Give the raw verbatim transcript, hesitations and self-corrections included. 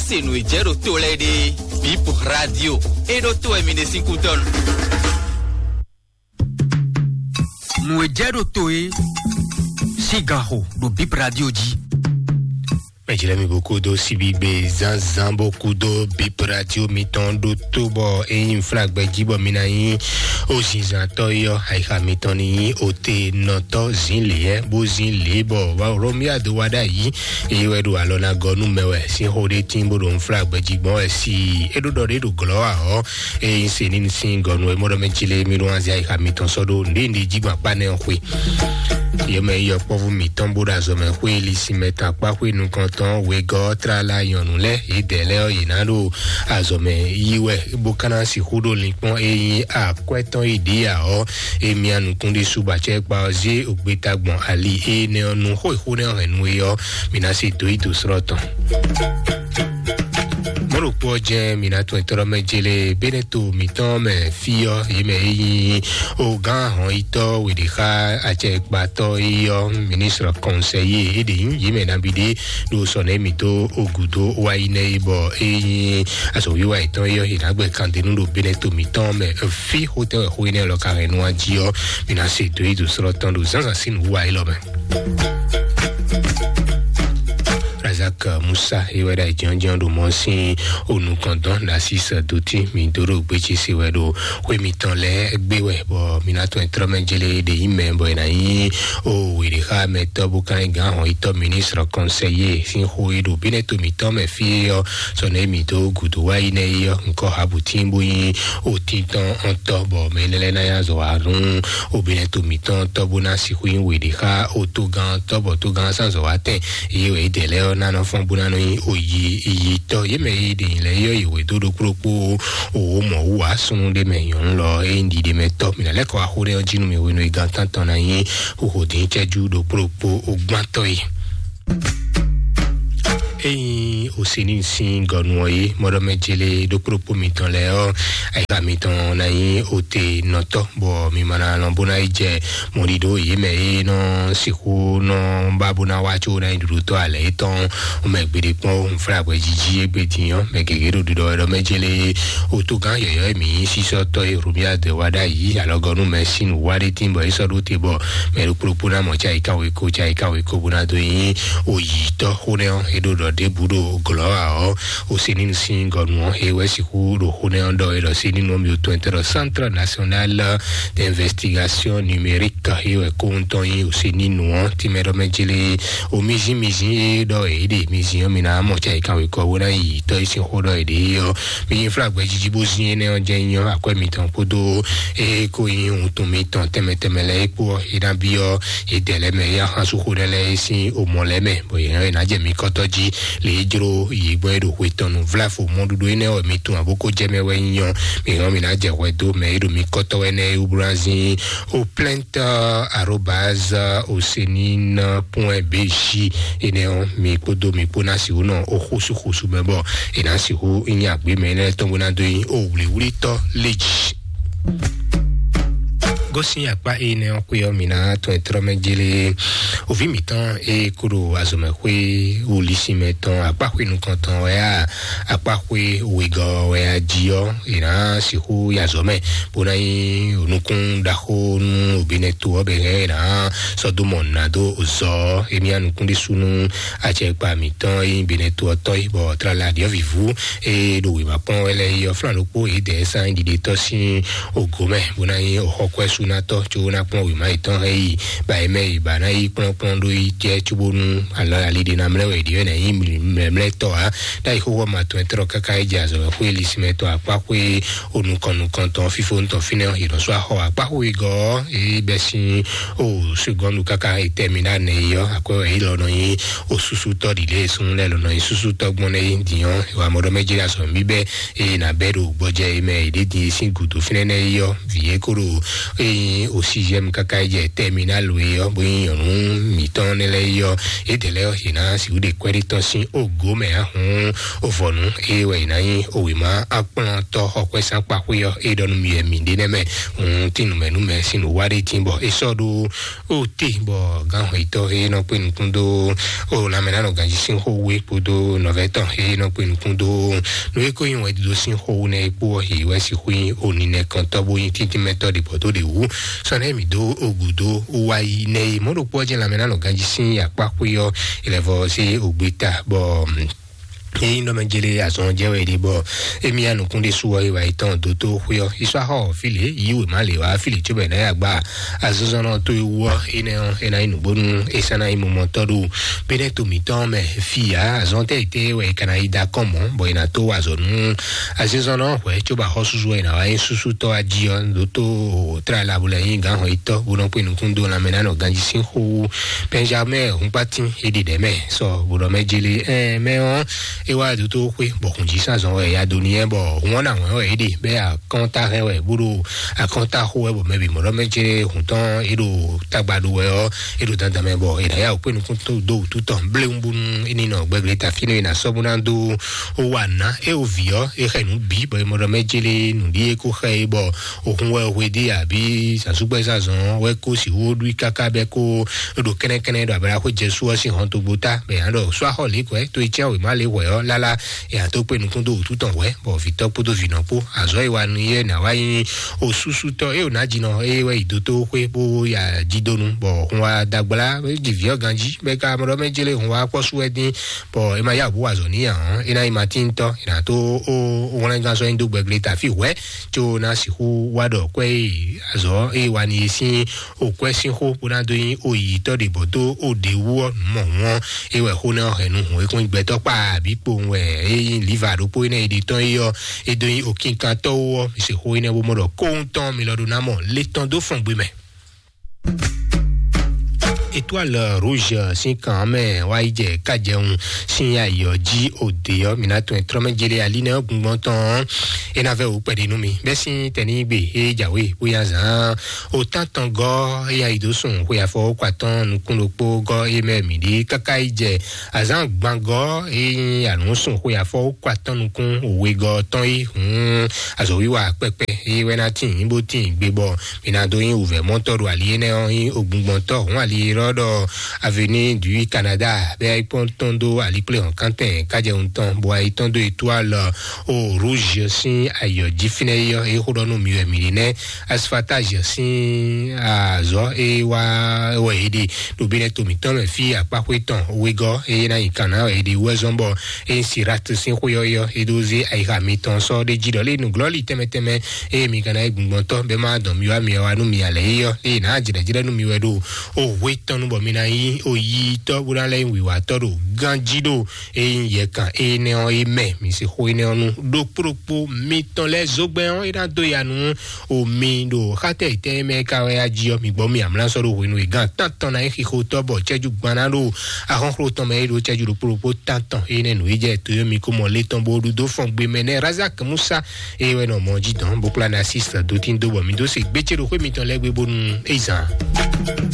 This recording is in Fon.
Se nǔ e jɛ ɖo to lɛ́ɛ ɖe, Bip Radio. E ɖo to wɛ mi ɖe sín kútɔ́nu. Nǔ e jɛ ɖo to e sín ganxo ɖo Bip Radio jí. Mɛjlɛ́ mi bó kúdó síbígbe zánzán bó kúdó Bip Radio mitɔn ɖó tó bɔ é nyí flagbɛ jí bɔ mi ná nyí ó zinzantɔ́ é ɔ́, ayixa mitɔn ní nyí ote nɔtɔ́ zín lě bó zín lě bɔ Romia do wá ɖ'ayǐ. Eye wɛ ɖo alɔ ná gɔ́ nú mɛ wɛ sín xó ɖé tín bó ɖo nflá gbɛjigbɔn wɛ si é ɖó ɖɔ ɖé ɖo glɔ́ ǎ ɔ́, eye nyí se ní sín gɔ́ nú é mɔɖɔ mɛ jí lé mí ɖó anzia yi xa mitɔn sɔ́ ɖó nǔɖé nǔɖé jí gbɔn akpá nɛ́ ɔ́ xwe. Yě mɛ yi yɔkpɔ́vú mǐtɔn bó ɖo azɔ̌ mɛ xwé li sin mɛ tɔn akpá xwé nukɔntɔn wegɔ́ tlala nyɔ̌nu lɛ́ɛ yě dɛ̌ lɛ́ɛ ɔ́, yě ná ɖo azɔ̌ mɛ yí wɛ bó ka ná sixú ɖo linkpɔ́n e nyí akwɛ́ tɔn yi ɖě ǎ ɔ́, emi anukún ɖésú bɔ acɛkpa ɔ́ zé ògbéta gbɔn ali énɛ́ ɔ́ nu xó e xó nɛ́ ɔ́ hɛn nú é ɔ́, mi ná se dǒ yi dǒ slɔ́ tɔn. Mɔ̌ ɖokpó ɔ́ jɛ́n mi ná tɔn etɔ́ mɛ jélé bénɛ́ to mǐtɔn mɛ fí ɔ́, yě mɛ e nyí ogán ahɔnyitɔ́ weɖexa acɛkpatɔ́ é ɔ́, ministre conseiller é ɖě nyí yě mɛ nabí ɖé ɖo sɔnɛ mǐ dó ogu dó wá yi nɛ é bɔ é nyí azɔ̌wiwa yětɔn é ɔ́, yě ná gbɛ kandenu ɖo bénɛ́ to mǐtɔn mɛ fí xótɛ́ wɛ xó énɛ́ lɔ ka hɛn nú wá jí ɔ́, mi ná se dó yi dǒ slɔ́ tɔn ɖo zǎnzǎn sín nǔwiwa élɔ́ mɛ. Razak Musa é wɛ ɖo ayǐjínjɔ́n ɖo mɔ sín onukɔn dɔn ɖo así sɛ dó tí mi dó ɖo gbéjé se wɛ ɖo xwé mitɔn lɛ́ɛ gbé wɛ bɔ mi ná tɔn trɔ́ mɛ jélé ɖe yí mɛ bɔ è nǎ nyí o wěɖéxa mɛtɔ́ bó ka nyí gǎn hɔn yítɔ́ ministre conseiller sín xó e ɖo bínɛ́ to mǐtɔn mɛ fí é ɔ́, sɔnɛ mǐ dó gǔdo wá yi nɛ é ɔ́, ŋkɔ Habutín bó nyí otíntɔn ɔ́ntɔ́ bɔ mɛ énɛ́ lɛ́ɛ ná nyí azɔ̌ wa nú obìnrin to mǐtɔn tɔ́ bó ná sixú nyí wěɖéxa otógán tɔ́ bɔ tógán sán azɔ̌ wa tɛn. Eye wɛ é dɛ lɛ́ɛ ɔ́ ná nɔ fɔ́n bó ná nɔ nyí oyi yitɔ́ yě mɛ e ɖe nyǐ lɛ́ɛ yɔ́ yě wě dó ɖokpó ɖokpó owó mɔ̌ wú ǎ súnnu ɖé mɛ nyɔ̌nu lɔ é nyí ɖiɖe mɛ tɔ́ mǐ ná lɛ́ kɔ wá xó ɖé ɔ́ jí nú mì hwenu e gan tántɔn ná nyí xóxó dín cɛ́jú ɖokpó ɖokpó ogbántɔ́ e. Ényí òsínú sín gɔnu ɔ́ yí mɔɖɔmɛ jélé ɖokpó ɖokpó mitɔn lɛ́ɛ ɔ́, ayixa mitɔn ná nyí ote nɔtɔ́ bɔ mi ma ná lɔn bó ná yi jɛ mɔɖiɖo yě mɛ e nɔ sixú nɔ ba bó ná wá có ná nyí ɖuɖutɔ́ alɛ yětɔn mɛ gbeɖé kpɔ́n nflá hwɛjiji égbé din ɔ́, mɛ gěgé ɖo ɖiɖɔ wɛ ɖɔ mɛ jélé otógán yɔ̌yɔ́ e mǐ nyí sísɔ́tɔ́ e Romiade wá ɖ'ayǐ alɔgɔ́nú mɛ sín nǔ wá ɖé tín bɔ é sɔ́ ɖó te bɔ mɛ ɖokpó ɖokpó ná mɔ cáyíká wéko cáyíká wéko bó ná dó nyí oyǐtɔ́ xó nɛ́ ɔ́, é ɖo ɖɔ ɖěbǔ ɖo glɔ̌ ǎ ɔ́, Oseninu sín gɔnu ɔ́, é wɛ sixú ɖo xó nɛ́ ɔ́ ɖɔ é ɖɔ Seninu ɔ́ mì tɔn tɛ́ ɖɔ Centre National d'Investigation Numérique, é wɛ kóhun tɔn nyí Oseninu ɔ́, tínmɛ ɖɔ mɛ jélé o mizín mizín é ɖɔ é ɖe mizín ɔ́, mi ná mɔ cɛ kan wekɔ bó ná yi tɔ́ yi sín xó ɖɔ é ɖe ɔ́, mi nyí flagbɛ jiji bó zín énɛ́ ɔ́ jɛ nyí ɔ́, akwɛ́ mitɔn kpódó é kó nyí wuntun mitɔn tɛnmɛ tɛnmɛ lɛ́ɛ é kpó ɔ́, é ná byɔ́ é dɛ lɛ́ɛ mɛ é axán sú xó ɖɛ lɛ́ɛ é sín omɔ lɛ́ɛ mɛ, bɔ yě hɛn é ná jɛ mi kɔ́tɔ́ jí. Le e jló yě gbɔn é ɖo xwe tɔn nu vláfo mɔɖuɖu énɛ́ wɛ mi tunwun abó kó jɛ mɛ wɛ nyí ɔ́, mi hɔn mi ná jɛ hwɛ dó mɛ e ɖo mi kɔtɔ wɛ nɛ é wúblú ná zín o plainte arobase osenine point bj. Énɛ́ ɔ́, mi kpódó mi kpó ná si wú nɔ o xósúxósú mɛ bɔ è nǎ sixú nyí agbě mɛ énɛ́ tɔn bó ná dó nyí o wlǐwlítɔ́ lé jí. Gosín akpá énɛ́ ɔ́ xwé ɔ́, mi ná tɔn ɛ trɔ́ mɛ jélé. Òví mǐtɔn e kó ɖo azɔ̌mɛxwé wulísínmɛ tɔn akpáxwé nukɔntɔn wɛ a akpáxwé wegɔ́ wɛ a jí ɔ́, è nǎ sixú yi azɔ̌ mɛ bó ná nyí nukún ɖaxó nú òbínɛ́ to ɔ́ bɛ hɛn è nǎ sɔ́ dó mɔ nǔ ná dó zɔ ɔ́. Émí anukún ɖésú nú acɛkpa mǐtɔn e nyí Benɛto ɔ́ tɔ́ yi, bɔ tlala ɖiɔ́vǐvú e ɖo wěma kpɔ́n wɛ lɛ́ɛ yi ɔ́, flán ɖokpó yědɛɛ sán ɖiɖetɔ́ sín ògo mɛ, bó ná nyí xɔkwɛ́súnatɔ́, có ná kplɔ́n wěma yětɔn hɛn yi ba é mɛ yi ba ná yi kplɔ́nkplɔ́n ɖó yi jɛ cóbónú alɔ ali ɖé ná mlɛ́ wɛ ɖi wɛ ná nyí mlɛmlɛtɔ́ ǎ. Ɖ'ayǐ xóxó ma tɔn ɛ tlɔ́ káká yi jɛ azɔ̌ wɛ xwé lisínmɛ tɔn akpá xwé o nukɔn nukɔn tɔn fífó tɔn fínɛ́ ɔ́, yě nɔ sú axɔ akpá xwé gɔ́ ɔ́, é bɛ́ sín o segɔ́ndu káká etɛ́ mi ɖó anɛ yi ɔ́, akwɛ́ wɛ é lɔ nɔ nyí o súsútɔ́ ɖi lě e súnnu lɛ́ɛ lɔ nɔ nyí súsútɔ́ gbɔn nɛ́ yi din ɔ́, wa mɔ ɖɔ mɛ jɛ azɔ̌ mi bɛ́ eye nǎ bɛ́ ɖo gbɔjɛ e mɛ è ɖě din e sín gǔdo fínɛ́ nɛ́ yi ɔ́, vǐ e kó ɖo Ní o sixième káká yi jɛ terminal we ɔ́, bó nyí nyɔ̌nu mǐtɔn nɛ́ lɛ́ɛ yi ɔ́, édɛɛ lɛ́ɛ ɔ́, yě ná sixú ɖe kwɛ́ɖí tɔn sín ògó mɛ ahún ovɔnu, eye wɛ yě ná nyí òwěma akplɔ́ntɔ́ xɔkwɛ́sán kpaxwé ɔ́, é ɖɔ nú mi wɛ mǐ ɖe nɛ́ mɛ. Hǔn tín nǔmɛnúmɛ sín nǔ wa ɖé tín bɔ é sɔ́ ɖó ó te, bɔ gǎnhɔn yětɔn e nɔ kpé nukún dó o lanmɛnánɔ ganjí sín xó wú é kpódó nɔvɛ́ tɔn e nɔ kpé nukún dó nú é kó nyí wɛn ɖiɖo sín xó wú nɛ́ é kpó ɔ́, yě wɛ sixú nyí oninɛkɔntɔ́ bó nyí tíntímɛtɔ́ ɖě bɔ tó ɖě wú. Sɔ nɛ́ mǐ dó ogu dó wá yi nɛ́ é. Mɔ̌ ɖokpó ɔ́ jẹ́ lanmɛnánɔ ganjí sín akpá xwé ɔ́, é lɛ́ vɔ sí ogbé ta bɔ yíyí nɔ mɛ jele azɔn jɛ wɛ ɖe bɔ emi ya nukún ɖe su ɔ́, iwa yetɔn dó tó xwé ɔ́, isɔ axɔ file yi wema le wa file tso bɛ na ya gba azɔzɔnɔ to ewu ɔ́, enɛ ɔ́ ena yi nugbonu esa na yi mɔmɔtɔ ɖo bene to mitɔn mɛ fi ya azɔn tɛ ite wɛ kana yi da kɔn mɔ bɔ ena to wa azɔ nu azɔzɔnɔ hwɛ tso ba xɔ susu ena wa yi susu tɔ aji ɔ́, do to tra la bo le yi gan hɔn itɔ bo nɔ kpe nukun do lamɛ na nɔ ganji sin xo. Benjamin hunkpatin edi ɖɛ mɛ sɔ bo nɔ mɛ jeli ɛ mɛ ɔ́, e wá dó tó xwé bɔ xunjí sazɔn wɛ ya do nìyẹn bɔ hun ɔ́ na wɛn wɛ é ɖe bɛ akɔnta hɛn wɛ bó ɖo akɔnta xo wɛ bɔ mɛ bǐ mɔ ɖɔ mɛ jeli hun tɔn é ɖo tagba ɖo wɛ ɔ́, é ɖo dandan mɛ bɔ é ná yá wò kpé nukún tó dó wútu tɔn bléwu bónú é ní nɔ gbɛgbléta fínú é ná sɔ́ bó ná dó ó wà ná é wò vǐ ɔ́ é xɛ nǔ bǐ bɔ é mɔ ɖɔ mɛ jeli nǔɖíe kó xɛ é bɔ òhun wɛ hwedí àbí zǎnsúgbɛ́ zazɔn wɛ kó sixú ɖú káká bɛ́ kó ɖo kɛ́nɛ́kɛ́nɛ́ ɖo ablaxwé jɛsú ɔ́ sín hɔntogbó ta bɛ yǎ ɖɔ sɔ́ axɔ lě hwɛ̌ tó yi cyán wěma lě hwɛ̌ ɔ́ lálá. È nǎ tó kpé nukún dó wǔtu tɔn hwɛ̌ bɔ vǐtɔ́ kpódó vǐnɔ kpó azɔ̌ e wa nú yɛ nǎ wá nyí osúsútɔ́ é wò ná jinɔ é wɛ yi dó tó xwé bó ya jí dó nu bɔ hun wa dagblá é ji vǐ ɔ́ ganjí bɛ ka mɔ ɖɔ mɛ jélé hun wa kpɔ́ sú wɛ dín bɔ é ma yá wǔ bó wa azɔ̌ n'i ǎ. É ná nyí matíntɔ́ è nǎ tó ó wlɛ́ngán sɔ́ nyi dó gbɛgbléta fí hwɛ̌ có ná sixú wá ɖɔ kwɛ́ e azɔ̌ e wa ni e sín òkwɛ́ sín xó bó ná dó nyí oyǐtɔ́ ɖě bɔ dó òɖě wú ɔ́ nǔ mɔ̌hun ɔ́, é wɛ xó nɛ́ ɔ́ hɛn nú hǔn e kún nyí gbɛtɔ́ kpa bǐ kpowun wɛ é nyí liva ɖokpó énɛ́ e ɖe tɔn é ɔ́, é dó nyí òkinkantɔ́ wú ɔ́, mi se xó énɛ́ bó mɔ ɖɔ kóhun tɔn mi lɔ ɖó ná mɔ lé tɔn dó fɔn gbe mɛ. Étoile Rouge sín kan mɛ wá yi jɛ kájɛun sín ayǐ ɔ́ jí òde ɔ́, mi ná tunwun trɔ́mɛ jele alínɛ ɔ́ gbungbɔn tɔn ɔ́, é ná vɛ wò kpɛɖé nú mi bɛ́ sín tɛnígbe é jǎwe bóyá zǎn òtántɔn gɔ́ é yá yi dó sùn xwe afɔ kó atɔ́n nukún ɖokpó gɔ́ é mɛ mǐ ɖi káká yi jɛ azǎn gbangɔ́ é nyí àlǔnsùn xwe afɔ kó atɔ́n nukún òwe gɔ́ tɔn yi hǔn azɔ̌wiwa kpɛkpɛ é wɛ ná tín bó tín gbe bɔ mi ná dó nyí wǔvɛ́ mɔtɔ́ ɖo ali énɛ́ ɔ́ nyí ogbungbɔntɔ́ hǔn ali e ɖɔ ɖɔ Avenue du Canada bɛ ayikpɔn tɔn dó alikplé hɔn kántɛn kájɛ ŋutɔn bɔ ayi tɔn dó étoile o rouge sín ayɔ jí fínɛ́ yɔ é xó ɖɔ nú mi wɛ mi ɖi nɛ́ asphaltage sín azɔ̌ é wá wɛ é ɖe ɖo bí nɛ́ to mǐtɔn mɛ fí akpáxwé tɔn wegɔ́ é ná nyi kan ná wɛ é ɖe wú ɛzɔ́n bɔ é nyí sirat sín xwé ɔ́ yɔ é ɖó zé ayixa mitɔn sɔ́ ɖé jí ɖɔ lé nǔglɔ́lí tɛnmɛ tɛnmɛ eye mi ka ná yi gbɔngbɔntɔ́ bɛ́ má dɔn mi wá mi wá nú mi alɛ yi ɔ́ eye nǎ jlɛ̌jlɛ́ nú mi wɛ ɖo o hwe tɔn nú bɔ mi ná yí o yi tɔ́ bó ná lɛ́ nyí wǐwátɔ́ ɖo ganjí ɖo eye nyí yɛkan énɛ́ ɔ́ é mɛ mi se xó énɛ́ ɔ́ nú ɖokpó ɖokpó mitɔn lɛ́ɛ zógbɛ́n ɔ́ é ná dó ya nú o mi ɖo xátɛ ìtɛ́ mɛ ka wɛ ya jí ɔ́ mi gbɔ mi amlá sɔ́ ɖo hwenu e gán tántɔn ná nyí xixotɔ́ bɔ cɛ́jú gbaná ɖo axɔ́xló tɔn mɛ é ɖo cɛ́jú ɖokpó ɖokpó tántɔn énɛ́ nǔ é jɛ to yɔ́ mi kó mɔ lé tɔn bó ɖu dó fɔn gbe mɛ nɛ́ Razak Musa eye wɛ nɔ mɔ jí dɔn bó kplá na sísɛ dó tín dó bɔ mi dó se gbécé ɖo xwé mitɔn lɛ́ɛ gbé bónú é zan.